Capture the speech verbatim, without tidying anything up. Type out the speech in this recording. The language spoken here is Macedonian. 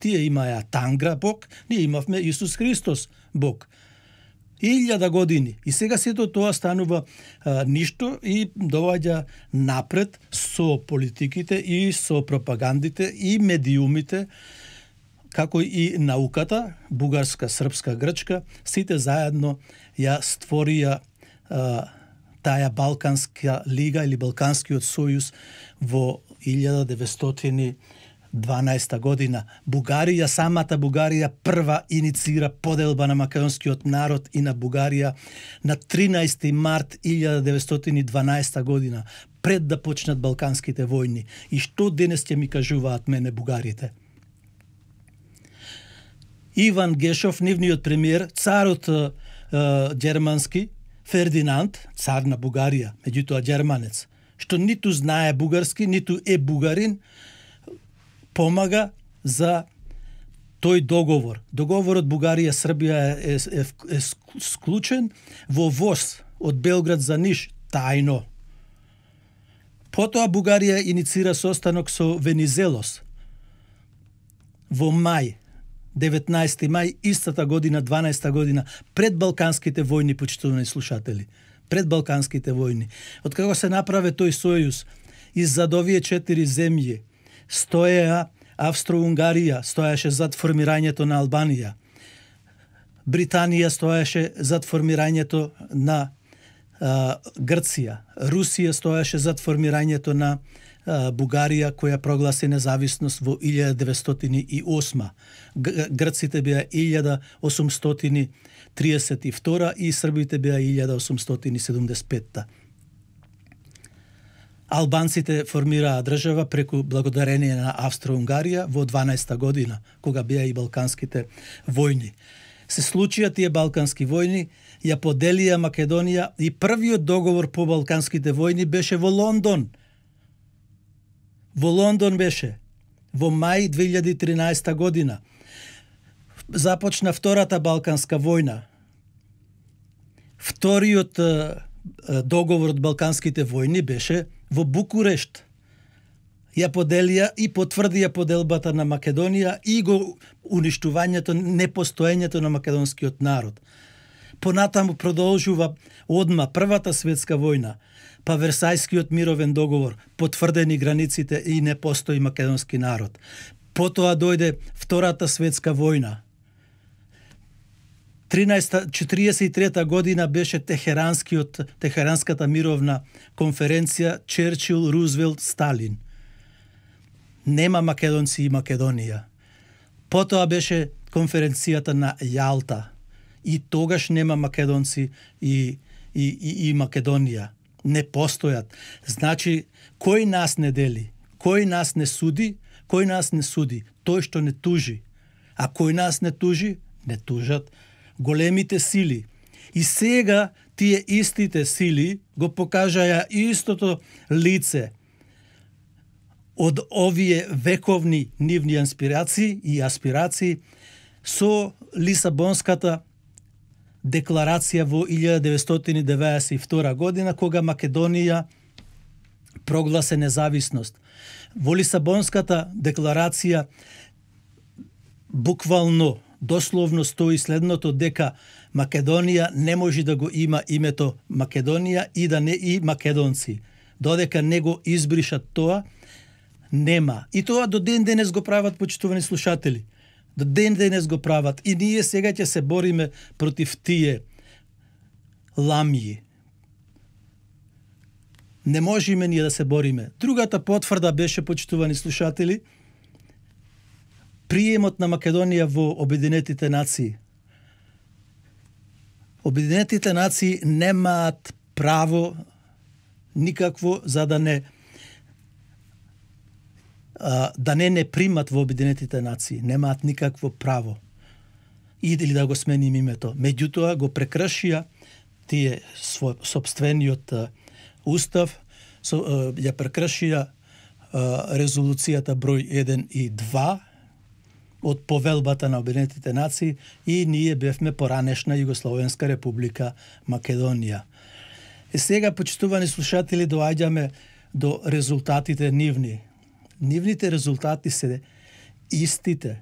Тие имаја Тангра Бог, ние имавме Исус Христос Бог. Илјада години. И сега сето тоа станува а, ништо и доаѓа напред со политиките и со пропагандите и медиумите, како и науката, бугарска, српска, грчка, сите заедно ја створија а, таа Балканска лига или Балканскиот сојуз во илјада деветстотини и дванаесета година. Бугарија, самата Бугарија прва иницира поделба на македонскиот народ и на Бугарија на тринаесети март илјада деветстотини и дванаесета година, пред да почнат Балканските војни. И што денес ќе ми кажуваат мене бугарите? Иван Гешов, нивниот премиер, царот е, германски, Фердинанд, цар на Бугарија, меѓутоа германец, што ниту знае бугарски, ниту е бугарин, помага за тој договор. Договорот Бугарија-Србија е, е, е, е склучен во воз од Белград за Ниш, тајно. Потоа Бугарија иницира состанок со Венизелос во мај, деветнаесети мај, истата година, дванаесета година, пред Балканските војни, почитувани слушатели. Пред Балканските војни. Од како се направи тој сојуз, иззад овие четири земји стоеа Австро-Унгарија, стоеше зад формирањето на Албанија. Британија стоеше зад формирањето на а, Грција. Русија стоеше зад формирањето на а, Бугарија, која прогласи независност во илјада деветстотини и осма. Грците беа илјада осумстотини триесет и втора и србите беа илјада осумстотини седумдесет и петта. Албанците формираа држава преку благодарение на Австро-Унгарија во дванаесета година, кога беа и Балканските војни. Се случија тие Балкански војни, ја поделија Македонија и првиот договор по Балканските војни беше во Лондон. Во Лондон беше во мај две илјади и тринаесета година. Започна втората Балканска војна. Вториот договор од Балканските војни беше во Букурешт. Ја поделија и потврдија поделбата на Македонија и го уништувањето, непостоењето на македонскиот народ. Понатаму продолжува одма Првата светска војна, па Версајскиот мировен договор, потврдени границите и не постои македонски народ. Потоа дојде Втората светска војна. четириесет и трета година беше Техеранскиот, Техеранската мировна конференција Черчил, Рузвелт, Сталин. Нема македонци и Македонија. Потоа беше конференцијата на Јалта. И тогаш нема македонци и, и, и, и Македонија. Не постојат. Значи, кој нас не дели? Кој нас не суди? Кој нас не суди? Тој што не тужи. А кој нас не тужи? Не тужат големите сили. И сега тие истите сили го покажаја истото лице од овие вековни нивни инспирации и аспирации со Лисабонската декларација во илјада деветстотини деветдесет и втора година, кога Македонија прогласе независност. Во Лисабонската декларација буквално, дословно стои следното, дека Македонија не може да го има името Македонија и да не и македонци. Додека не го избришат тоа, нема. И тоа до ден денес го прават, почитувани слушатели. До ден денес го прават. И ние сега ќе се бориме против тие ламји. Не можеме ние да се бориме. Другата потврда беше, почитувани слушатели, приемот на Македонија во Обединетите нации. Обединетите нации немаат право никакво за да не а, да не не примат во Обединетите нации. Немаат никакво право. Или да го сменим името. Меѓутоа го прекршија тие свој собствениот а, устав, со, а, ја прекршија а, резолуцијата број еден и два од повелбата на Обединетите нации и ние бевме поранешна Југословенска република Македонија. И сега, почитувани слушатели, доаѓаме до резултатите нивни. Нивните резултати се истите.